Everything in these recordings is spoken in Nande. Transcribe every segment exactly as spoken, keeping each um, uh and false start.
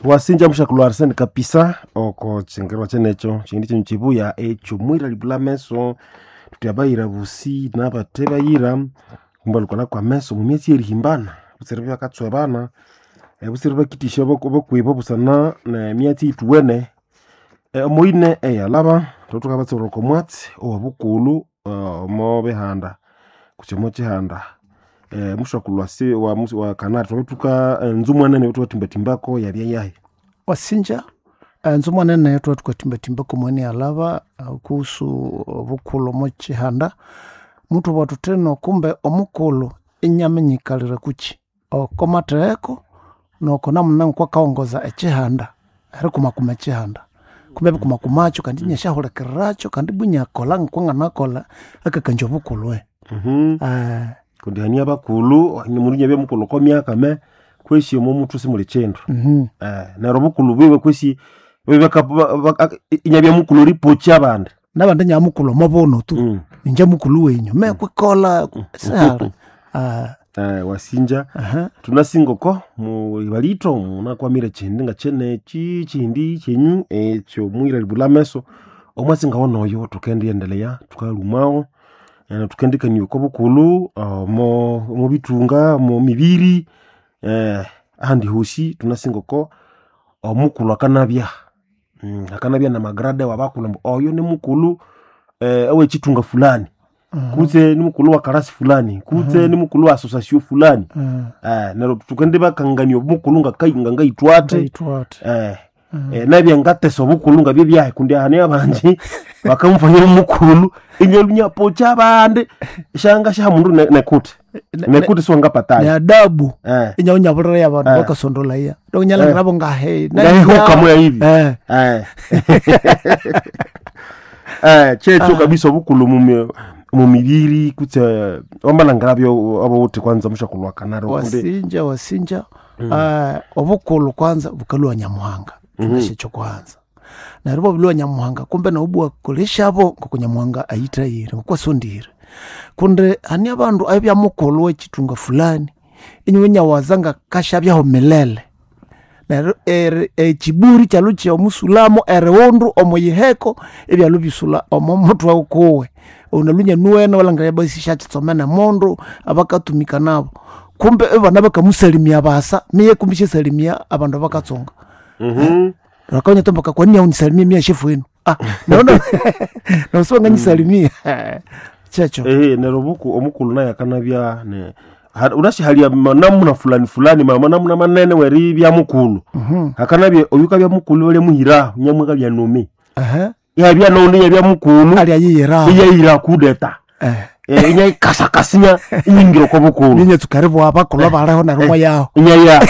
Wasinja mushakulu Arsene kapisa oko chingerwa chenecho chindi chinyu chibuya echo mwira libula meso tutyabayira busi nabate bayira kumba lukola kwa meso mumyezi erihimbana butsire byakatswebana butsire bakitisha bokwibo busana nemyatsi ituwene omoine eyalaba thotukabatsibura oko mwatsi owobukulu omo bihanda kutse omo kihanda mushakulu wasi wa, wa kanari twabithuka nzu mwanene thukathimbathimba yabya yahi. Wasinja enzu mwanene twathukathimbathimba mwene yalaba kuhusu obukulhu omo kihanda muthubugha thuthino kumbe omukulhu inyaminyikalira kukyi oko matheheko noko namuna ngokwakawongoza ekihanda erikumakuma ekihanda kumbe ebikumakumakyo kandi inyasyahulikirirakyo kandi ibwa inyakolha ngokwanganakolha akakangya obukulhu. Mm -hmm. Kundi hania bakulhu mundu inyabya mukulhu oko myaka me kwesi omo muthu simuli kindu. Mm -hmm. Eh, neryo obukulhu bwiwe kwesi inyabya mukulhu eripokya abandi nabandi inyabya mukulhu omo buno tu mm. Inje mukulhu wenyu me kwikolha sihali. uh, Eh, wasinja uh -huh. tunasinga oko muibalito munakwamire chindi nga cheneki chindi chenyu ekyo mwira libula meso omwasinga wonoyo tukendiendelea tukalumawo eh, tukendikania oko bukulhu omo omo bitunga omo mibiri eh, ahandi hosi tunasinga oko omukulhu akanabya mm, akanabya namagrade wabakulhu ambu oyo nimukulhu eh, owechitunga fulani Uh -huh. kutse ni mukulhu wa karasi fulani kutse Uh -huh. ni mukulhu wa association fulani Uh -huh. eh, neryo tukendibakangania omukulhu ngaitwathe Ngaitwathe. eh, Uh -huh. eh, nabya ngatesa obukulhu ngabye byahi kundi hane abanji bakamufanya omukulhu inyalunya pocha abandi shanga sha mundu ne- nekute nekute siwangapatayo ne adabu eh. inyaunyabulira yabandu Eh. bakasondolaya donyalangira ngahe ngahihuka moya hivi eh eh. eh, kyekyo kabisa obukulhu mumi mumibiri kutse wamalangira abowuthi kwanza mushakulhu wa kanari kundi wasinja wasinja mm. uh, obukulhu kwanza bukalwa nyamuhanga mm -hmm. ekyo kwanza neryo bwabilwa nyamuhanga kumbe nawu bwakoleshabo ngoko nyamuhanga ayithayire ngokwasondire kundi hani abandu abya mukulhu wekitunga fulani inywe nyawaza ngakashabyaho milele neryo eri- ekiburi kyalu kyomusulamo eriwundu omuyiheko ebyalu bisula omo mutwe ukuwe unalunya nuwene walangira basi syakyitsomene mundu abakatumika nabo kumbe ebana bakamusalimia basa miye kumbe syasalimia abandu abakatsunga Mhm. rakaunya tomboka kwani aunisalimie mia shefu wenu ah naona nausiwa nyisalimia checho ehe neryo obuku omukulhu naye akanabya ne ha- unashihalia manamuna fulani fulani manamuna manene weribya mukulhu mhm hakanabya oyu kabya mukulhu balya muhira nyamwe kabya numi ehe yabya noundi yabya mukulhu ali ayiyira iyayira kudeta eh Eh, inyayikasakasinya inyingira oko bukulhu ninyetsuka bwa bakulhu baleho neryo mwayaho inyaya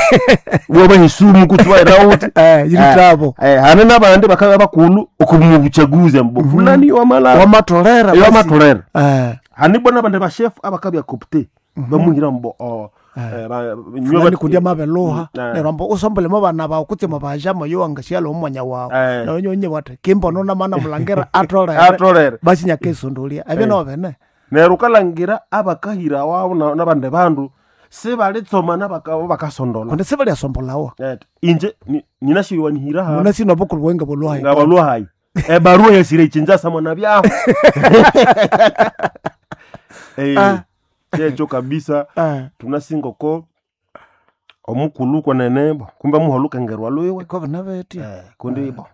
wabahesumu kutsi wayirawuthi eh yiritabo Eh, hane nabandi bakabya bakulhu okumubuchaguzi ambu fulani wamala wamatolera basi. wamatolera eh hane bona abandi bashefu abakabya kopte bamuhira mbo oh, eh, ba- nywe fulani bat- kundi amabeluha Mm, eh. neryo ambu usombolemo bana bawu kutse mubaja moyo wangashyala omwanya wawu Eh. neryo nyonye wati kimbono namana mulangira atolere atolere basi nyakesondolia ebyo nobene neryo ukalangira abakahira wabo na- nabandi bandu sibalitsoma nabaka- bakasondola kundi sibalyasombolawa Eh, inje ni- ninashiwanihira ha muna sino bukulu bwenge bulwayi ngabalwahayi ebarua yasire ichinja samwana byaho Eh, Ah. kyekyo kabisa eh tunasinga oko omukulhu kwenene bo kumbe muha olukengerwa lwiwe kobe nabetya Eh, kundi bo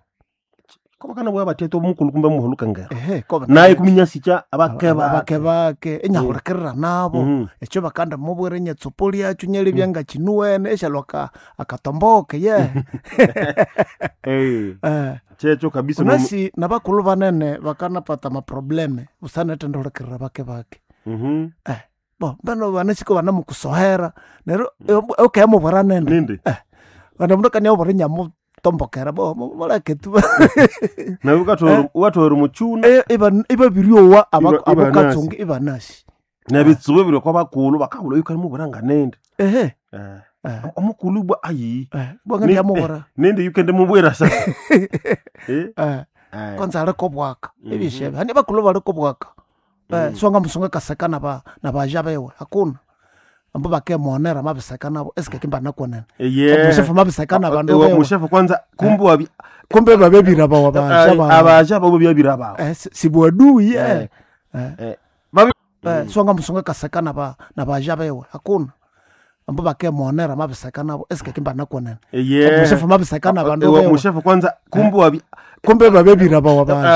kobakana bwa batete omukulhu kumbe muha olukengerwa ehe kobe naye kuminyasicha abakeba abake bake inyahulikirira nabo Mhm. ekyo bakanda mubwira inyetsupo lyakyo nyelibya ngakinuwene eshalwa aka- akatomboke ye Eh, eh kyekyo kabisa mu- unasi nabakulhu banene bakanapata maprobleme busanethendolikirira bake bake Mhm. eh bo mbeno banasiko banamukusohera neryo ukemubwira nene nindi bana mundu akaniabwira inyamutombokera bo muleke tu nawe ukathoera omuchuna Eh, iba- ibabiryowa Iba- abokatsunga ibanasi nebitsibu biri kwa bakulhu bakabula yuka mubwira nga nindi ehe Eh, eh, omukulhu bwa ayi eh, bwanga ndiyamubwira nindi yukende mubwira sasa Eh, eh eh. kwanza aliko bwaka Mhm. ebishebe hani bakulhu baliko bwaka eh Mhm. siwanga musunga kaseka naba nabaja bewe hakuna Ambo bakemonera mabiseka nabo esikeke mbanakonene. Eye. Omushefu mabiseka nabandu Ewa, bewe. mushefu kwanza kumbe wabi Kumbe babebira bawa baja ba. abaja babo byabira bawo Eh, si- sibwadui eh. Eh. Babi- Eh, songa musunga kaseka naba nabaja bewe hakuna. Ambo bakemonera mabiseka nabo esikeke mbanakonene. Eye. Omushefu mabiseka nabandu Ewa, bewe. mushefu kwanza kumbe wabi Kumbe babebira bawa baja